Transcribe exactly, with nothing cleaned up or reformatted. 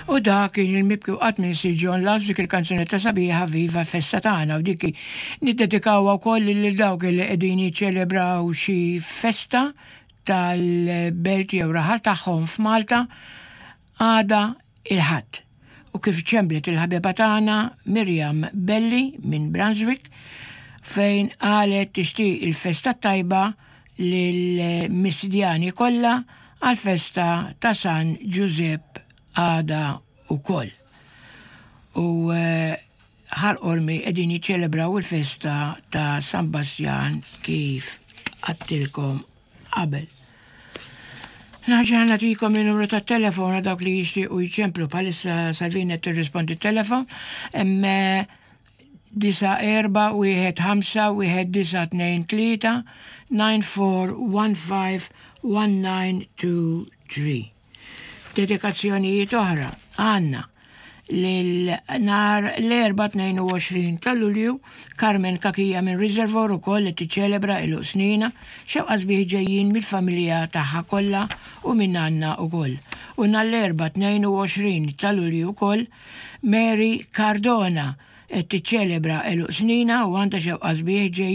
U dak kien il-mibki u qatt minn Sir John Love, dik il-kanzunetta sabiħa "Viva Festa Tagħna", u dik niddedikawha wkoll lil dawk li qegħdin jiċċelebraw xi festa tal-belt jew raħal tagħhom f'Malta għada il-Ħadd. U kif ċemplet il-ħabiba tagħna Miriam Belli minn Brunswick, fejn qalet tixtieq il-festa tajba lil-Misdjani kollha għal-festa ta' San Giuseppe għada ukoll. U eh, Ħal Qormi qegħdin jiċċelebraw il-festa ta' San Bastjan, kif għedtilkom qabel. Nerġa' nagħtikom il-numru ta' telefon dawk li jixtiequ jċemplu. Bħalissa Salvina tirrispondi telefon. Disa' erba' wieħed ħamsa wieħed disa' tnejn tlieta, nine four one five one nine two three. Dedikazzjonijiet oħra għandna lil nhar l-Erbgħa tnejn u għoxrin ta' Lulju, Carmen Kakija minn Reservoir ukoll li tiċċelebra għeluq sninha, xewqat sbieħ ġejjin mill-familja tagħha kollha u minn għandna ukoll. U nhar l-Erbgħa tnejn u għoxrin ta' Lulju ukoll Mary Cardona qed tiċċelebra għeluq sninha u għandha xewqat sbieħ ġejjin.